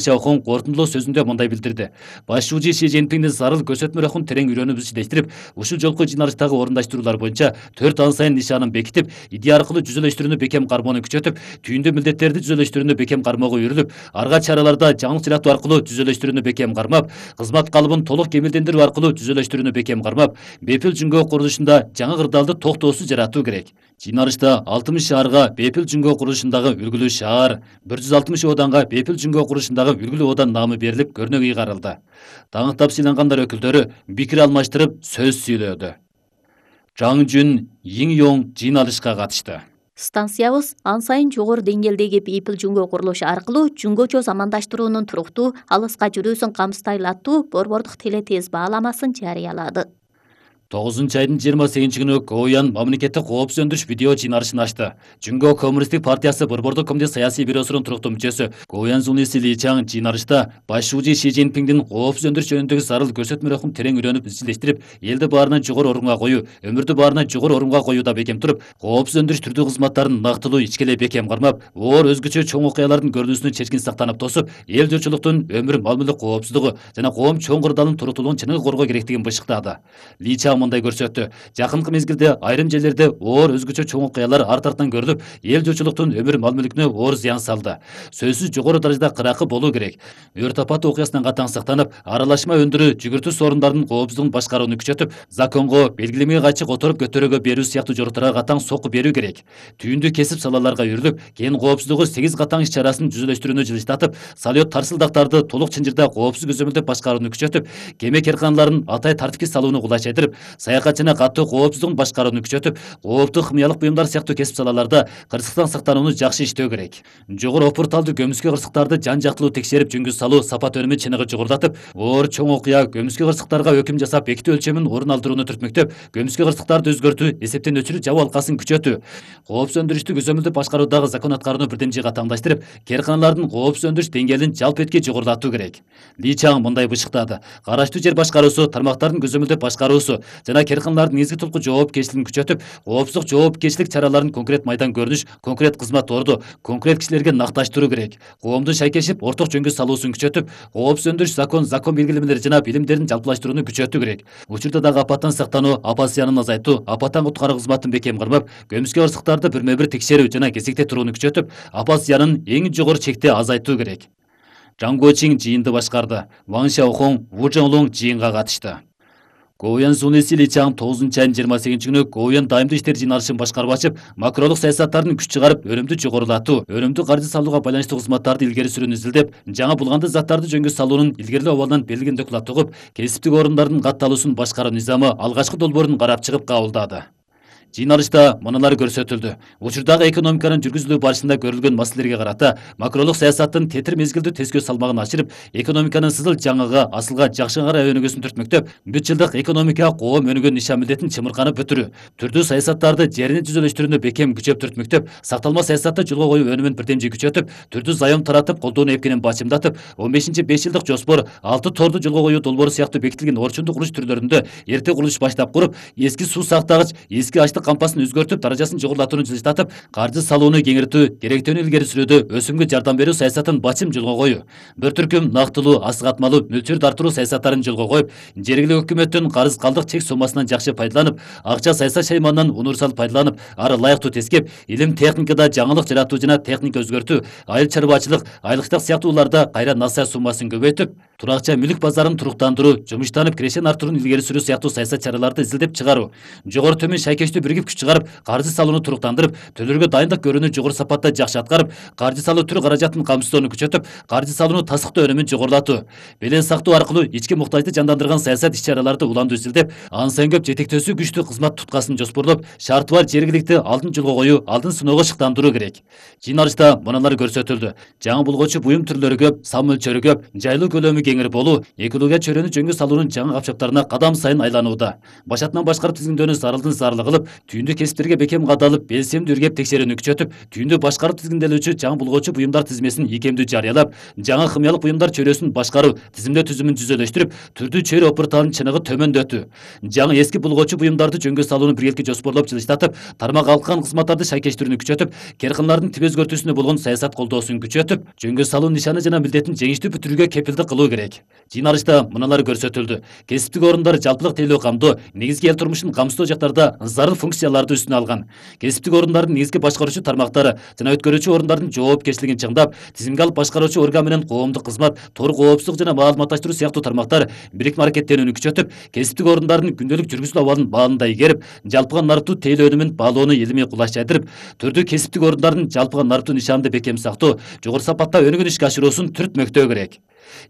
Xiaohong кортундулоо сөзүндө мындай билдирди. Башчы Ши Цзиньпиңдин зарыл көрсөтмөлөрүн терең үйрөнүп изилештирип, ушул жолку жыйналыштагы орундаштыруулар боюнча 4 ан сайын нишанын бекитип, идея аркылуу жүзөлөштүрүүнү бекем кармоону күчөтүп, түйүндүү милдеттерди жүзөлөштүрүүнү бекем кармоого үйрүлүп, арга чараларда жаңылык жаратуу аркылуу жүзөлөштүрүүнү бекем кармап, кызмат калыбын толук кемелдендирүү аркылуу жүзөлөштүрүүнү бекем кармап, бепил жүнгө курулушунда жаңы кырдаалды токтоосуз жаратуу керек. Жыйналышта 60 шаарга бепил жүнгө курулушундагы үлгүлүү шаар, 160 ооданга бепил жүнгө курулушундагы үлгүлүү оодан наамы берилип, көрнөк ыйгарылды. Таңыктап сыйлангандар өкүлдөрү пикир алмаштырып, сөз сүйлөдү. Чаң Жүн, Йиң Йонг жыйналышка катышты. Станциябыз ан сайын жогору деңгээлдеги бейпил жүнгө курулушу аркылуу жүнгөчө замандаштыруунун туруктуу, алыска жүрүүсүн камсыздайлы аттуу борбордук телетез бааламасын жарыялады. 9-айдын 28 күнү Гоуян мамлекеттик коопсуз өндүрүш видео жыйналышын ачты. Жүнгө Коммунисттик партиясы борбордук комитет саясий бюросунун туруктуу мүчөсү Гоуян Зунлиси Ли Чаң жыйналышта башчы Ши Цзиньпиңдин коопсуз өндүрүш жөнүндөгү зарыл көрсөтмөлөрүн терең үйрөнүп изилештирип, элди баарынан жогору орунга коюу, өмүрдү баарынан жогору орунга коюуда бекем туруп, коопсуз өндүрүш түрдүү кызматтарын нактылуу ичкелей бекем кармап, оор өзгөчө чоң окуялардын көрүнүүсүнөн чечкин сактанып тосуп, эл журтчулуктун өмүр мал мүлк коопсуздугу жана коом чоң кырдаалынын туруктуулугун чыныгы коргоо керектигин бышыктады. Ли Чаң мындай көрсөттү. Жакынкы мезгилде айрым жерлерде оор өзгөчө чоң окуялар арт-артан көрүлүп, эл журтчулуктун өмүр мал мүлкүнө оор зыян салды. Сөзсүз жогору даражада кыракы болуу керек. Өрт апаты окуясынан катаң сактанып, аралашма өндүрүү, жүгүртүү сорундардын коопсуздугун башкарууну күчөтүп, законго, белгилемеге кайчы которуп көтөрүүгө берүү сыяктуу жоруктарга катаң сокку берүү керек. Түйүндүү кесип салаларга үйрүлүп, кен коопсуздугу 8 катаң иш чарасын жүзөлөштүрүүнү жылыштатып, салют тарсылдактарды толук чынжырда коопсуз көзөмөлдөп башкарууну күчөтүп, кеме керканаларын атай тартипке салууну кулайчайтырып, саякатчына коопсуздугун башкарууну күчөтүп, кооптук химиялык буюмдар сыяктуу кесип салаларда кырсыктан сактанууну жакшы иштөө керек. Жогору опурталдуу көмүскө кырсыктарды жан жактылуу текшерип жөнгө салуу сапат өнүмүн чыныгы жогорулатып, оор чоң окуя көмүскө кырсыктарга өкүм жасап бекитүү өлчөмүн орун алдырууну түртмөктөп, көмүскө кырсыктарды өзгөртүү, эсептен өчүрүү жабуу алкасын күчөтүү, коопсуз өндүрүштү көзөмөлдөп башкаруудагы закон аткарууну бирден жыйга таңдаштырып, керканалардын коопсуз өндүрүш деңгээлин жалпы этке жогорулатуу керек. Ли Чаң мындай бышыктады. Караштуу жер башкаруусу, тармактардын көзөмөлдөп башкаруусу жана керканалардын негизги тулку жоопкерчилигин күчөтүп, коопсуздук жоопкерчилик чараларын конкрет майдан көрүнүш, конкрет кызмат орду, конкрет кишилерге накташтыруу керек. Коомдун шайкешип, орток жөнгө салуусун күчөтүп, коопсуз өндүрүш закон белгилемелери жана билимдерин жалпылаштырууну күчөтүү керек. Учурда дагы апаттан сактануу, апат зыянын азайтуу, апаттан куткаруу кызматын бекем кармап, көмүскө кырсыктарды бирме-бир текшерүү жана кезекте турууну күчөтүп, апат зыянын эң жогору чекте азайтуу керек. Чаң Гочиң жыйынды башкарды. Ван Xiaohong, Ву Чжоңлуң жыйынга катышты. Гоуян Зунлиси Ли Чаң 9-айдын 28 күнү Гоуян дайымдуу иштер жыйналышын башкарып ачып, макролук саясаттардын күч чыгарып, өнүмдү жогорулатуу, өнүмдүү каржы салууга байланыштуу кызматтарды илгери сүрүүнү изилдеп, жаңы булганды заттарды жөнгө салуунун илгерилөө абалынан берилген доклад угуп, кесиптик орундардын катталуусун башкаруу низамы алгачкы долбоорун карап чыгып кабылдады. Жыйналышта мыналар көрсөтүлдү. Учурдагы экономиканын жүргүзүлүү барышында көрүлгөн маселелерге карата макролук саясаттын тетир мезгилдүү тескөө салмагын ашырып, экономиканын сызыл жаңыга, асылга жакшы карай өнүгүүсүн түртмөктөп, бүт жылдык экономика коом өнүгөн нишан милдетин чымырканып бүтүрүү, түрдүү саясаттарды жерини түзөлөштүрүүнү бекем күчөп түртмөктөп, сакталма саясатты жолго коюу өнүмүн бирдемжи күчөтүп, түрдүү зайом таратып, колдоону эпкенин бачымдатып, 15-5 жылдык жоспор, 6 торду жолго коюу долбоору сыяктуу бекитилген орчундук курулуш түрлөрүндө эрте курулуш баштап куруп, эски суу сактагыч, эски кампасын өзгөртүп, даражасын жогорулатууну жылыштатып, каржы салууну кеңиртүү, керектөөнү илгери сүрүүдө өсүмгө жардам берүү саясатын бачым жолго коюу, бір түркүм нактылуу, асыгатмалуу мөлчөрдү артыруу саясаттарын жолго коюп, жергиликтүү өкмөттүн карыз калдык чек соммасынан жакшы пайдаланып, акча саясат шайманынан универсал пайдаланып, ары ылайыктуу тескеп, илим техникада жаңылык жаратуу жана техника өзгөртүү, айыл чарбачылык, айлыктык сыяктууларда кайра насыя суммасын көбөйтүп, туракча мүлк базарын туруктандыруу, жумуштанып кирешен артырууну илгери сүрүү сыяктуу саясат чараларды изилдеп чыгаруу, жогору төмөн шайкештүү биригип күч чыгарып, каржы салууну туруктандырып, төлөөргө дайындык көрүүнү жогору сапатта жакшы аткарып, каржы салуу түр каражатын камсыздоону күчөтүп, каржы салууну тасыктоо өнүмүн жогорулатуу, белең сактоо аркылуу ички муктажды жандандырган саясат иш чараларды уламдуу изилдеп, ан сайын көп жетектөөсү күчтүү кызмат туткасын жоспорлоп, шарты бар жергиликти алдын жолго коюу, алдын сыноого шыктандыруу керек. Жыйналышта мыналар көрсөтүлдү. Жаңы булгочу буюм түрлөрү көп, сан мөлчөрү көп, жайлуу көлөмү кеңир болуу, экология чөйрөнү жөнгө салуунун жаңы капчыктарына кадам сайын айланууда. Башатынан башкарып тизгиндөөнү зарылдын зарыл кылып, Түйүндү кесиптерге бекем кадалып, белсемдүү иргеп текшерүүнү күчөтүп, түйүндү башкаруу тизгинделүүчү жаңы булгоочу буюмдар тизмесин ийкемдүү жарыялап, жаңы химиялык буюмдар чөйрөсүн башкаруу тизимдөө түзүмүн жүзөлөштүрүп, түрдүү чөйрө опырталынын чыныгы төмөндөтүү, жаңы эски булгоочу буюмдарды жөнгө салууну биргеликте жоспорлоп жылыштатып, тармак алкан кызматтарды шайкештирүүнү күчөтүп, керканлардын тип өзгөртүүсүнө болгон саясат колдоосун күчөтүп, жөнгө салуу нишаны жана милдетин жеңиштүү бүтүрүүгө кепилдик кылуу керек. Жыйналышта мыналар көрсөтүлдү. Кесиптик орундар жалпылык тейлөө камдоо, негизги эл турмушун камсыздоо жактарда зарыл функцияларды үстүнө алган. Кесиптик орундардын негизги башкаруучу тармактары жана өткөрүүчү орундардын жоопкерчилигин чыңдап, тизимге алып башкаруучу орган менен коомдук кызмат, тор коопсуздук жана маалыматташтыруу сыяктуу тармактар бирикме аракеттенүүнү күчөтүп, кесиптик орундардын күндөлүк жүргүзүлүү абалын баалында игерип, жалпыга нарыктуу тейлөө өнүмүн баалоону илимий кулаш жайдырып, түрдүү кесиптик орундардын жалпыга нарыктуу нишанды бекем сактоо, жогору сапатта өнүгүн ишке ашыруусун түртмөктөө керек.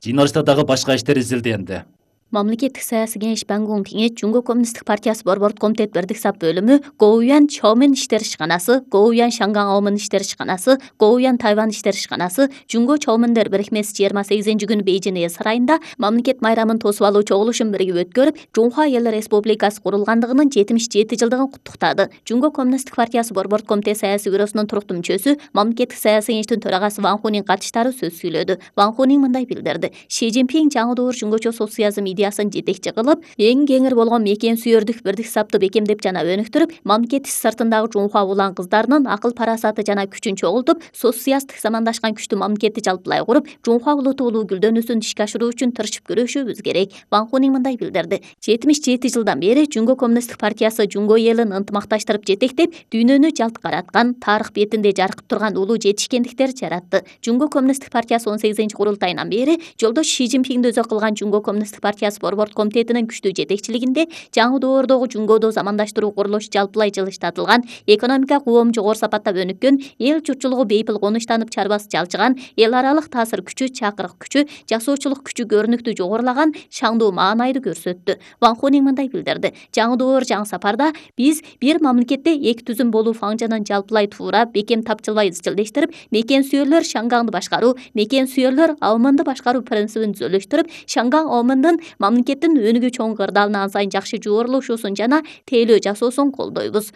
Жыйналышта дагы башка иштер изилденди. Мамлекеттик саясий кеңеш Бангун кеңеш Жунго коммунисттик партиясы борбордук комитет бирдик сап бөлүмү Гоуян Чоумен иштер ишканасы, Гоуян Шанган Аомун иштер ишканасы, Гоуян Тайвань иштер ишканасы, Жунго Чоумендер бирикмеси 28-күнү Бейжин Эл сарайында мамлекет майрамын тосуп алуу чогулушун биригип өткөрүп, Жунхва Эл Республикасы курулгандыгынын 77 жылдыгын куттуктады. Жунго коммунисттик партиясы борбордук комитет саясий бюросунун туруктуу мүчөсү, мамлекеттик саясий кеңештин төрагасы Ван Хунин катышкычтары сөз сүйлөдү. Ван Хунин мындай билдирди: Ши Цзиньпин жаңы доор жунгочо социализм идеясын жетекчи кылып, эң кеңир болгон мекен сүйөрдүк бирдик сапты бекемдеп жана өнүктүрүп, мамлекет сыртындагы Жунхва улан кыздарынын акыл парасаты жана күчүн чогултуп, социалисттик замандашкан күчтүү мамлекетти жалпылай куруп, Жунхва улуту улуу гүлдөнүүсүн ишке ашыруу үчүн тырышып көрүшүбүз керек. Ван Хунин мындай билдирди: 77 жылдан бери Жунго коммунисттик партиясы Жунго элин ынтымакташтырып жетектеп, дүйнөнү жалт караткан, тарых бетинде жаркып турган улуу жетишкендиктер жаратты. Жунго коммунисттик партиясы 18-курултайынан бери жолдош Ши Цзиньпинди өзө кылган Жунго коммунисттик партиясы борбордук комитетинин күчтүү жетекчилигинде жаңы доордогу Жунгодо замандаштыруу курулушу жалпылай жылыштатылган, экономика коом жогору сапатта өнүккөн, эл журтчулугу бейпил конуштанып чарбасы жалчыган, эл аралык таасир күчү, чакырык күчү, жасоочулук күчү көрүнүктүү жогорулаган, шаңдуу маанайды көрсөттү. Ван Хунин мындай билдирди: жаңы доор, жаңы сапарда биз бир мамлекетте эки түзүм болуу фаңжынын жалпылай туура, бекем тапчылбай изчилдештирип, мекен сүйөрлөр Шангаңды башкаруу, мекен сүйөрлөр Аомунду башкаруу принцибин түзөлүштүрүп, Шанган Аомундун мамлекеттин өнүгүү чоң кырдаалына ан сайын жакшы жуурулушуусун жана тейлөө жасоосун колдойбуз.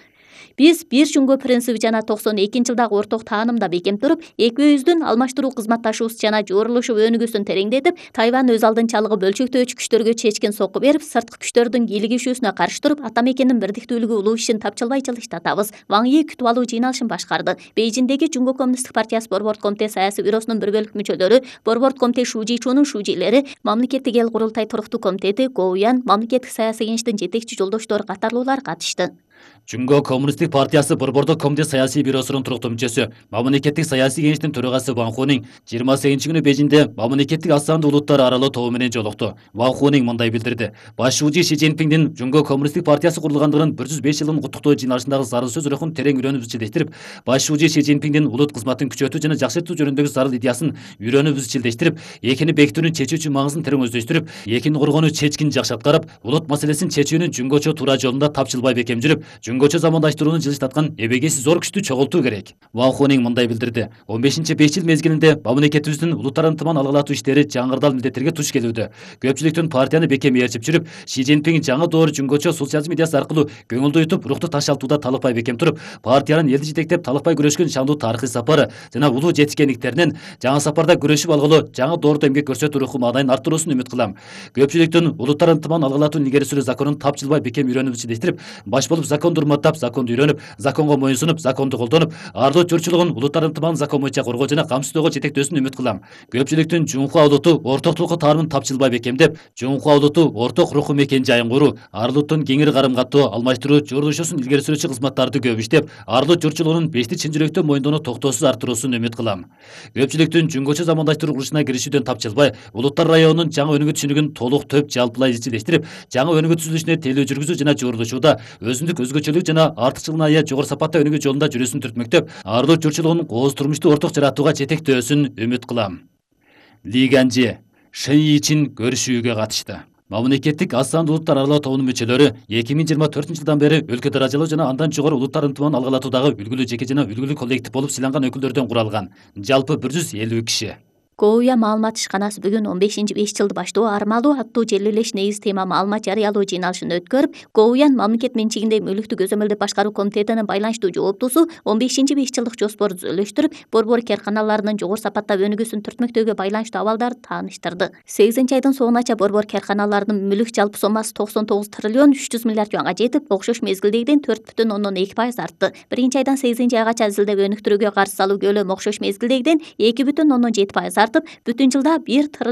Биз бир Жунго принциби жана 92-жылдагы орток таанымда бекем туруп, экөөбүздүн алмаштыруу кызматташуубуз жана жуурулушуп өнүгүүсүн тереңдетип, Тайвань өз алдынчалыгы бөлчөктөөчү күчтөргө чечкин сокку берип, сырткы күчтөрдүн кийлигишүүсүнө каршы туруп, ата мекендин бирдиктүүлүгү улуу ишин тапчылбай жылыштатабыз. Ван Йи күтүп алуу жыйналышын башкарды. Бейжиндеги Жунго коммунисттик партиясы борбордук комитет саясий бюросунун бир бөлүк мүчөлөрү, борбордук комитет Шужичунун шужилери, мамлекеттик эл курултай туруктуу комитети, Гоуян, мамлекеттик саясий кеңештин жетекчи жолдоштору катарлуулар катышты. Жунго коммунисттик партиясы борбордук комитет саясий бюросунун туруктуу мүчөсү, мамлекеттик саясий кеңештин төрагасы Ван Хунин 28-күнү Бейжинде мамлекеттик аз сандуу улуттар аралоо тобу менен жолукту. Ван Хунин мындай билдирди: Башчы Ши Цзиньпиндин Жунго коммунисттик партиясы курулгандыгынын 105 жылын куттуктоо жыйналышындагы зарыл сөз рухун терең үйрөнүп изчилдештирип, Башчы Ши Цзиньпиндин улут кызматын күчөтүү жана жакшыртуу жөнүндөгү зарыл идеясын үйрөнүп изчилдештирип, экини бекитүүнүн чечүүчү маңызын терең өздөштүрүп, экини коргонуу чечкин жакшы аткарып, улут маселесин чечүүнүн жунгочо туура жолунда тапчылбай бекем жүрүп, жунгочо замандаштырууну жылыштаткан эбегеси зор күчтү чогултуу керек. Ван Хунин мындай билдирди: 15-5 жыл мезгилинде мамлекетибиздин улуттар ынтымагын алгылатуу иштери жаңырдал милдеттерге туш келүүдө. Көпчүлүктүн партияны бекем ээрчип жүрүп, Ши Цзиньпин жаңы доор жунгочо социализм идеясы аркылуу көңүлдү утуп, рухту ташалтууда талыкпай бекем туруп, партиянын элди жетектеп талыкпай күрөшкөн шаңдуу тарыхый сапары жана улуу жетишкендиктеринен жаңы сапарда күрөшүп алгылоо жаңы доордо эмгек көрсөтүү руху маанайын арттыруусун үмүт кылам. Көпчүлүктүн улуттар ынтымагын алгылатуунун илгери сүрүү законун тапчылбай бекем үйрөнүп изчилдештирип, баш болуп законду урматтап, законду үйрөнүп, законго моюнсунуп, законду колдонуп, ардуу журтчулугун улуттар ынтымагын закон боюнча коргоо жана камсыздоого жетектөөсүн үмүт кылам. Көпчүлүктүн Жунхва улуту ортоктулукка таанымын тапчылбай бекемдеп, Жунхва улуту орток руху мекен жайын куруу, арлыктын кеңири карым-каттоо, алмаштыруу, жуурулушуусун илгери сүрүүчү кызматтарды көп иштеп, арлык журтчулугунун бешти чын жүрөктөн мойындоону токтоосуз арттыруусун үмүт кылам. Көпчүлүктүн жунгочо замандаштыруу курулушуна киришүүдөн тапчылбай, улуттар районунун жаңы өнүгүү түшүнүгүн толук төп жалпылай изчилдештирип, жаңы өнүгүү түзүлүшүнө тейлөө жүргүзүү жана жуурулушууда өзүндүк өзгөчөлүк жана артыкчылыгына ыя жогору сапатта өнүгүү жолунда жүрүүсүн түртмөктөп, арлык журтчулугунун кооз турмушту орток жаратууга жетектөөсүн үмүт кылам. Ли Ганжи Шэнь Йичин көрүшүүгө катышты. Мамлекеттик аз сандуу улуттар аралоо тобунун мүчөлөрү 2024 жылдан бери өлкө даражалуу жана андан жогору улуттар ынтымагын алгылатуудагы үлгүлүү жеке жана үлгүлүү коллектив болуп сыйланган өкүлдөрдөн куралган. Жалпы 150 киши. Коуян маалымат ишканасы бүгүн 15-5 жылды баштоо армалуу аттуу жер элеш негиз тема маалымат жарыялоо жыйналышын өткөрүп, Коуян мамлекет менчигинде мүлүктү көзөмөлдөп башкаруу комитетинин байланыштуу жооптусу 15-5 жылдык жоспорду түзүлүштүрүп, борбор кээрканаларынын жогору сапаттап өнүгүүсүн түртмөктөөгө байланыштуу абалдарды тааныштырды. 8-айдын соңунача борбор кээрканаларынын мүлүк жалпы соммасы 99 триллион 300 миллиард юанга жетип, окшош мезгилдегиден 4,2% артты. 1-айдан 8-айгача изилдеп өнүктүрүүгө каржы салуу көлөмү окшош мезгилдегиден 2,7% артып, бүтүн жылда 1